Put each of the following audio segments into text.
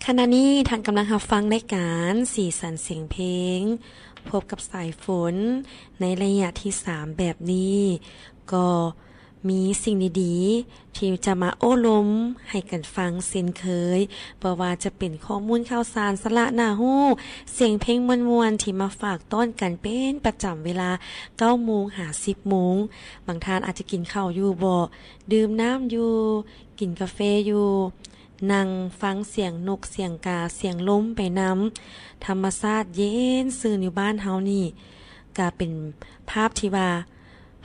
ຂະນະນີ້ທ່ານກຳລັງຮັບຟັງລາຍການສີສັນສຽງເພງ ພົບກັບສາຍຝົນໃນໄລຍະທີສາມແບບນີ້ ກໍມີສິ່ງດີໆທີ່ຈະມາໂອ້ລົມໃຫ້ກັນຟັງເຊັ່ນເຄີຍ, ບໍ່ວ່າຈະເປັນຂໍ້ມູນຂ່າວສານ ສາລະໜ້າຮູ້, ສຽງເພງມ່ວນໆທີ່ມາຝາກຕ້ອນກັນເປັນປະຈຳເວລາເກົ້າໂມງຫາສິບໂມງ. ບາງທ່ານອາດຈະກິນເຂົ້າຢູ່ເບາະ, ດື່ມນ້ຳຢູ່, ກິນກາເຟຢູ່, ນັ່ງຟັງສຽງນົກສຽງກາ ສຽງລົມໄປນຳ. ທຳມະຊາດເຢັນຊື່ນຢູ່ບ້ານເຮົານີ້ ກະເປັນພາບທີ່ວ່າ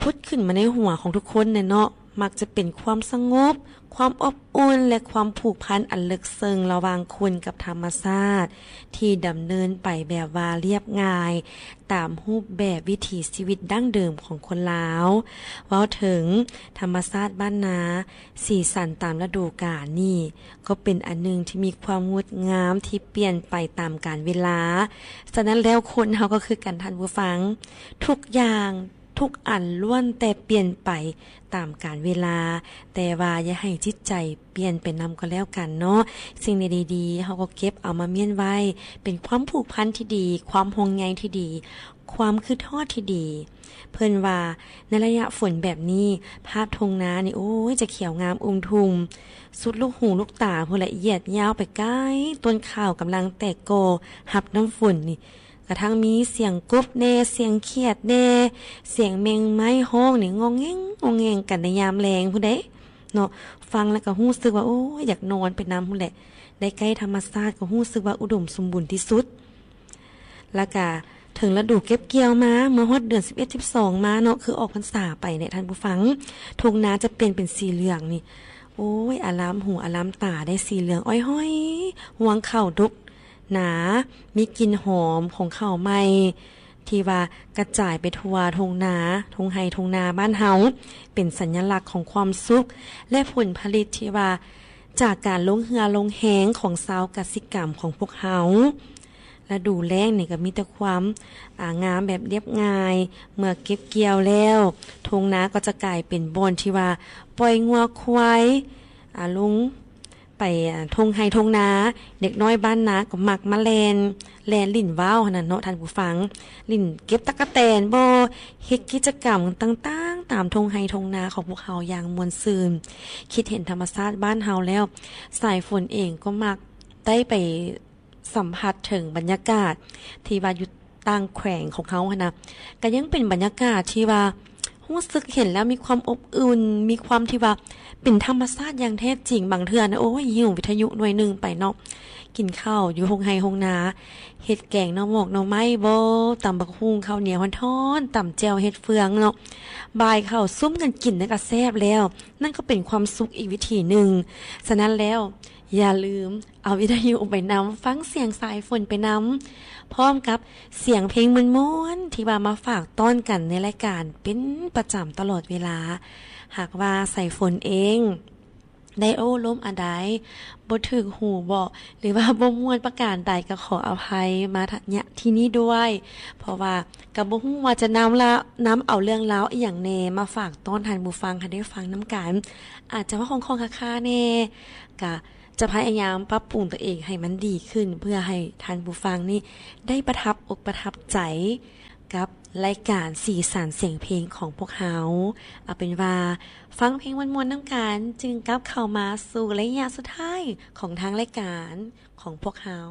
ຜຸດຂຶ້ນມາໃນຫົວຂອງທຸກຄົນແຫຼະເນາະ, ມັກຈະເປັນຄວາມສະຫງົບ, ຄວາມອົບອຸ່ນ ແລະ ຄວາມຜູກພັນອັນເລິກເຊິ່ງລະຫວ່າງຄົນກັບທຳມະຊາດ ທີ່ດຳເນີນໄປແບບວ່າລຽບງ່າຍ ຕາມຮູບແບບວິຖີຊີວິດດັ້ງເດີມຂອງຄົນລາວ. ເວົ້າເຖິງທຳມະຊາດບ້ານນາ, ສີສັນຕາມລະດູການນີ້ ກໍເປັນອັນໜຶ່ງທີ່ມີຄວາມງົດງາມທີ່ປ່ຽນໄປຕາມການເວລາ. ສະນັ້ນແລ້ວ ຄົນເຮົາກໍຄືກັນທ່ານຜູ້ຟັງ, ທຸກຢ່າງ ທຸກອັນລ້ວນແຕ່ປ່ຽນໄປຕາມການເວລາ, ແຕ່ວ່າຢ່າໃຫ້ຈິດໃຈປ່ຽນໄປນຳກໍແລ້ວກັນເນາະ. ສິ່ງໃດດີໆ ເຮົາກໍເກັບເອົາມາມ້ຽນໄວ້ ເປັນຄວາມຜູກພັນທີ່ດີ, ຄວາມຫ່ວງໃຍທີ່ດີ, ຄວາມຄິດຮອດທີ່ດີ. ເພິ່ນວ່າໃນໄລຍະຝົນແບບນີ້ ພາບທົ່ງນານີ້ ໂອ້ຍ ຈະຂຽວງາມອຸມທຸ່ມ ສຸດລູກຫູລູກຕາພຸ້ນແຫຼະ, ຍຽດຍາວໄປໄກ. ຕົ້ນຂ້າວກຳລັງແຕກກໍຮັບນ້ຳຝົນນີ້ ກະທັງມີສຽງກົບແດ່, ສຽງຂຽດແດ່, ສຽງແມງໄມ້ຮ້ອງນີ້ ງອງແງງອງແງງກັນໃນຍາມແລງພຸ້ນເດ້ເນາະ. ຟັງແລ້ວກໍຮູ້ສຶກວ່າ ໂອ້ຍ ຢາກນອນໄປນຳພຸ້ນແຫຼະ. ໄດ້ໃກ້ທຳມະຊາດກໍຮູ້ສຶກວ່າອຸດົມສົມບູນທີ່ສຸດ. ແລ້ວກະເຖິງລະດູເກັບກ່ຽວມາ, ເມື່ອຮອດເດືອນສິບເອັດ ສິບສອງມາເນາະ, ຄືອອກພັນສາໄປເນຍທ່ານຜູ້ຟັງ, ທົ່ງນາຈະປ່ຽນເປັນສີເຫຼືອງນີ້ ໂອ້ຍ ອາລາມຫູອາລາມຕາໄດ້, ສີເຫຼືອງອ້ອຍຫ້ອຍ, ຮວງເຂົ້າດົກໜາ, ມີກິ່ນຫອມຂອງເຂົ້າໃໝ່ ທີ່ວ່າກະຈາຍໄປທົ່ວທົ່ງນາ, ທົ່ງໄຮ່ທົ່ງນາບ້ານເຮົາ, ເປັນສັນຍະລັກຂອງຄວາມສຸກ ແລະ ຜົນຜະລິດທີ່ວ່າຈາກການລົງເຫື່ອລົງແຮງຂອງຊາວກະສິກຳຂອງພວກເຮົາ. ລະດູແລ້ງນີ້ກໍມີແຕ່ຄວາມ ອາ ງາມແບບລຽບງ່າຍ. ເມື່ອເກັບກ່ຽວແລ້ວ, ທົ່ງນາກໍຈະກາຍເປັນບ່ອນທີ່ວ່າປ່ອຍງົວຄວາຍ ອາ ລົງ ໄປ ອາ ທົ່ງໄຮ່ທົ່ງນາ, ເດັກນ້ອຍບ້ານນາກໍມັກມາແລ່ນ ແລ່ນຫຼິ້ນວ້າວຫັ້ນນະເນາະທ່ານຜູ້ຟັງ, ຫຼິ້ນເກັບຕັກກະແຕນບໍ, ເຮັດກິດຈະກຳຕ່າງໆຕາມທົ່ງໄຮ່ທົ່ງນາຂອງພວກເຮົາຢ່າງມ່ວນຊື່ນ. ຄິດເຫັນທຳມະຊາດບ້ານເຮົາແລ້ວ, ສາຍຝົນເອງກໍມັກໄດ້ໄປສຳຜັດເຖິງບັນຍາກາດທີ່ວ່າຢູ່ຕ່າງແຂວງຂອງເຮົາຫັ້ນນະ, ກໍຍັງເປັນບັນຍາກາດທີ່ວ່າ ຮູ້ສຶກເຫັນແລ້ວມີຄວາມອົບອຸ່ນ, ມີຄວາມທີ່ວ່າເປັນທຳມະຊາດຢ່າງແທ້ຈິງ. ບາງເທື່ອນະ ໂອ້ຍ ຫິ້ວວິທະຍຸໜ່ວຍໜຶ່ງໄປເນາະ, ກິນເຂົ້າຢູ່ໂຮງໄຮ່ໂຮງນາ, ເຮັດແກງໜໍ່ໝອກໜໍ່ໄມ້ບໍ, ຕຳບັກຫຸ່ງ ເຂົ້າໜຽວຮ້ອນໆ, ຕຳແຈ່ວເຫັດເຟືອງເນາະ, ບ່າຍເຂົ້າສຸມກັນກິນນັ້ນກໍແຊບແລ້ວ. ນັ້ນກໍເປັນຄວາມສຸກອີກວິທີໜຶ່ງ. ສະນັ້ນແລ້ວ ຢ່າລືມເອົາວິທະຍຸໄປນຳ, ຟັງສຽງສາຍຝົນໄປນຳ, ພ້ອມກັບສຽງເພງມ່ວນໆ ທີ່ວ່າມາຝາກຕ້ອນກັນໃນລາຍການເປັນປະຈຳຕະຫຼອດເວລາ. ຫາກວ່າສາຍຝົນເອງໄດ້ໂອ້ລົມອັນໃດບໍ່ຖືກຫູເບາະ ຫຼືວ່າບໍ່ມ່ວນປະການໃດ ກໍຂໍອະໄພມາ ນະ ທີ່ນີ້ດ້ວຍ, ເພາະວ່າກໍບໍ່ຮູ້ວ່າຈະນຳລະ ນຳເອົາເລື່ອງລາວອີ່ຫຍັງແດ່ມາຝາກຕ້ອນທ່ານຜູ້ຟັງໃຫ້ໄດ້ຟັງນຳກັນ. ອາດຈະເວົ້າຄ່ອງໆຄາໆແດ່, ກະ ຈະພະຍາຍາມປັບປຸງຕົວເອງໃຫ້ມັນດີຂຶ້ນ ເພື່ອໃຫ້ທ່ານຜູ້ຟັງນີ້ໄດ້ປະທັບອົກປະທັບໃຈກັບລາຍການສີສັນສຽງເພງຂອງພວກເຮົາ. ເອົາເປັນວ່າຟັງເພງມ່ວນໆນຳກັນ ຈຶ່ງກັບເຂົ້າມາສູ່ໄລຍະສຸດທ້າຍຂອງທາງລາຍການຂອງພວກເຮົາ.